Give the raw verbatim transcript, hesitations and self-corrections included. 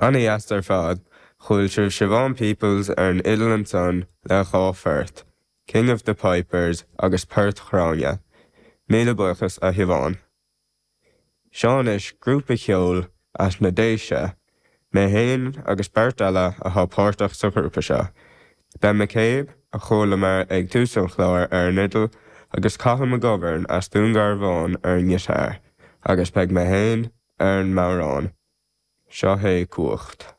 An-deas ar fad, chuala sibh Siobhán Peoples ar an fhidil ansan le dhá phort, King of the Pipers agus Port Ghráinne. Míle buíochas a Shiobhán. Seo anois grúpa ceoil as na Déise, mé féin agus beirt eile atá páirteach sa ghrúpa seo. Ben McCabe a chualamar ag tús an chláir ar an fhidil agus Cathal McGovern as Dún Garbhán ar an ngiotár, agus beidh mé féin ar an mbodhrán. Seo é cumhacht.